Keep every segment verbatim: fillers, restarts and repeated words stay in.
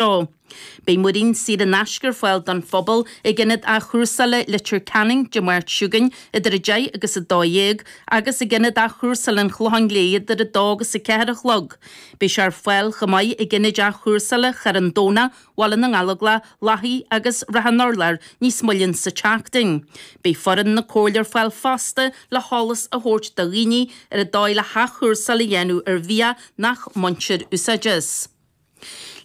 seo. Beidh muirín saor in aisce ar fáil don phobal ag Ionad Athchúrsála Leitir Ceanainn Dé Máirt seo chugainn idir a deich agus a dó dhéag agus ag Ionad Athchúrsála an Chlocháin Léith idir a dó agus a ceathair a chlog. Beidh sé ar fáil chomh maith ag Ionaid Athchúrsála Charn Domhnach, Bhaile na nGallóglach, Lathaí agus Ráth an Urláir níos moille sa tseachtain. Beidh foireann na Comhairle ar fáil fosta le heolas a thabhairt do dhaoine ar an dóigh le hathchúrsáil a dhéanamh ar bhia nach mbaintear úsáid as.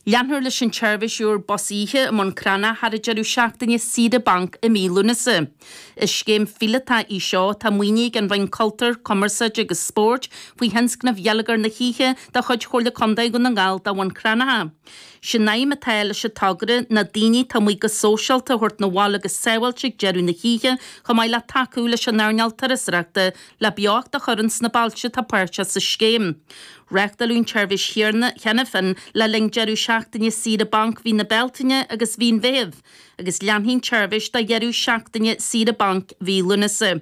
Leanfar leis an tseirbhís úr bus oíche i mBun Cranncha thar an deireadh seachtaine saoire banc i mí Lúnasa. Is scéim phíolótach í seo atá maoinithe ag an Roinn Cultúir, Cumarsáide agus Spóirt faoi thionscnamh Gheilleagar na hOíche de chuid Chomhairle Contae Dhún na nGall do Bhun Cranncha. Sé'n aidhm atá leis an togra ná daoine atá amuigh go sóisialta a thabhairt 'na bhaile go sábháilte ag deireadh na hoíche chomh maith le tacú leis an earnáil turasóireachta le beocht a chur ins na bailte atá páirteach sa scéim. Reáchtáladh an tseirbhís cheana féin le linn deireadh seachtaine saoire banc mhí na Bealtaine agus mhí an Mheithimh, agus leanfaidh an tseirbhís do dheireadh seachtaine saoire banc mhí Lúnasa.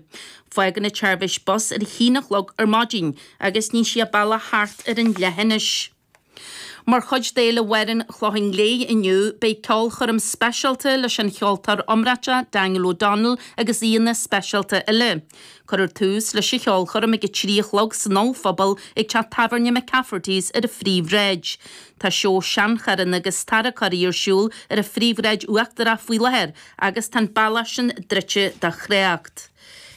Fágann an tseirbhís bus ar a haon a chlog ar maidin agus níonn sí a bealach thart ar an leithinis. Mar chuid d'Fhéile Amhrán an Chlocháin Léith inniu, beidh ceolchoirm speisialta leis an cheoltóir iomráiteach Daniel O'Donnell agus aíonna speisialta eile. Cuirfear tús leis an cheolchoirm ag a trí a chlog san ollphuball ag teach tábhairne McCafferty's ar an Phríomhshráid. Tá seó seancharranna agus tarracóirí ar siúl ar an Phríomhshráid Uachtarach faoi láthair agus tá an bealach sin druidte do thrácht.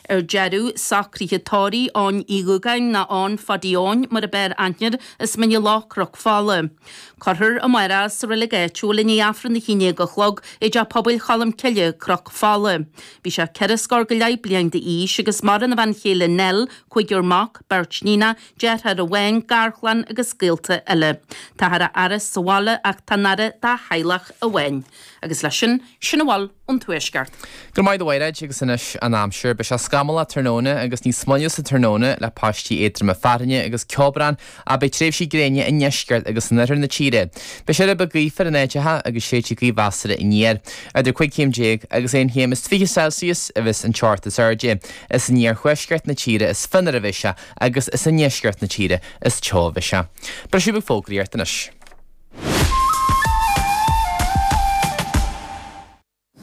Ar deireadh, socruithe tórraimh Eoin Uí Dhúgáin nó Eoin Phadaí Eoin mar ab fhearr aithne air as Mín an Loch Cnoc Fola. Cuirfear amárach sa reilig áitiúil i ndiaidh Aifreann a haon déag a chlog i dTeach Pobail Cholm Cille, Cnoc Fola. Bhí sé ceithre scór go leith bliain d'aois agus maireann a bhean chéile Nell, cúigear mac, beirt níonach, deartháir amháin, garchlann agus gaolta eile. Táthar á fhaire sa bhaile ach tá an aire dá theaghlach amháin. Agus leis sin, sin a bhfuil ón Tuaisceart. Go maith do Mhairéad agus anois an aimsir, beidh sé scamallach tráthnóna agus níos moille sa tráthnóna le paistí éadroma fearthainne agus ceobhrán ach beidh tréimhsí gréine i ndeisceart agus in oirthear na tíre. Beidh sé rud beag gaofar in áiteacha agus séidfidh gaoth mheasartha aniar. Idir cúig chéim déag agus aon chéim is fiche Celsius a bheas an teocht is airde. Is in iarthuaisceart na tíre is fionnuaire a bheidh sé agus is i ndeisceart na tíre is teo a bheidh sé. Briseadh beag fógraíochta anois.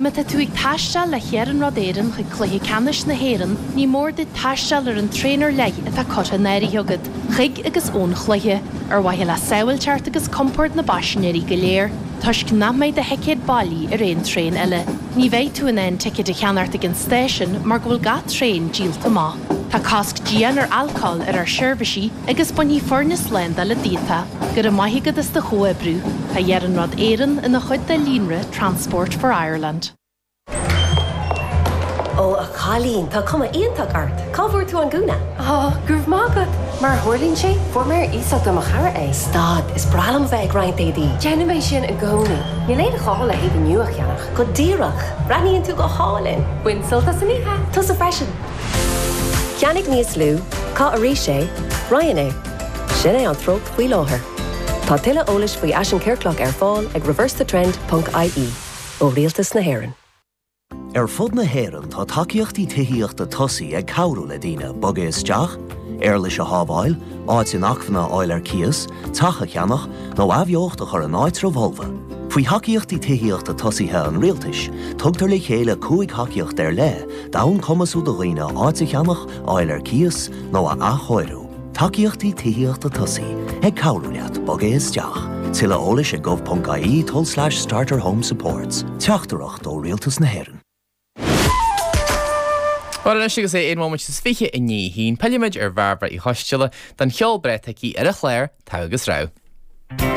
Má tá tú ag taisteal le hIarnród Éireann chuig Cluiche Ceannais na hÉireann, ní mór duit taisteal ar an traein ar leith atá curtha in áirithe agat, chuig agus ón chluiche, ar mhaithe le sábháilteacht agus compord na bpaisinéirí go léir, toisc nach mbeidh do thicéad bailí ar aon traein eile. Ní bheidh tú in ann ticéid a cheannacht ag an stáisiún mar go bhfuil gach traein díolta amach. Tá cosc dian ar alcól ar ár seirbhísí agus bainfidh foirne slándála díot. Go raibh maith agat as do chomhoibriú. Tá Iarnród Éireann ina chuid de líonra Transport for Ireland. Ó a chailín, tá cuma iontach ort. Cá bhfuair tú an gúna? Ó, go raibh maith agat. Mar a tharlaíonn sé, fuair mé ar iasacht ó mo chara é. Stad, is breá liom a bheith ag roinnt éadaí. Déanaim é sin i gcónaí. Níl aon ghá le héadaí nua a cheannach. Go díreach! Breathnaíonn tú go hálainn. Bain sult as an oíche. Tusa freisin. Ceannaigh níos lú, caith arís é, roinn é. Sin é an treocht faoi láthair. Tá tuilleadh eolais faoi fhaisean ciorclach ar fáil ag reversethetrend ponc ie ó Rialtas na hÉireann. Ar fud na hÉireann tá tacaíochtaí tithíochta tosaigh ag cabhrú le daoine bogadh isteach, éarlais a shábháil, áit inacmhainne a fháil ar cíos, teach a cheannach nó athbheocht a chur in áitreabh fholmha. Faoi thacaíochtaí tithíochta tosaithe an Rialtais, tugtar le chéile cúig thacaíocht ar leith d'fhonn cumasú do dhaoine áit a cheannach, a fháil ar cíos nó a athchóiriú. Tacaíochtaí tithíochta tosaigh, ag cabhrú leat bogadh isteach. Tuilleadh eolais ag gov.ie tulslais starter home supports. Teachtaireacht ó Rialtas na hÉireann. Bhuel anois agus é aon bhomaite is fiche i ndiaidh a haon, pillfimid ar Bhairbre Uí Choisteala don cheol breá atá aici ar an chlár, Togha agus Rogha.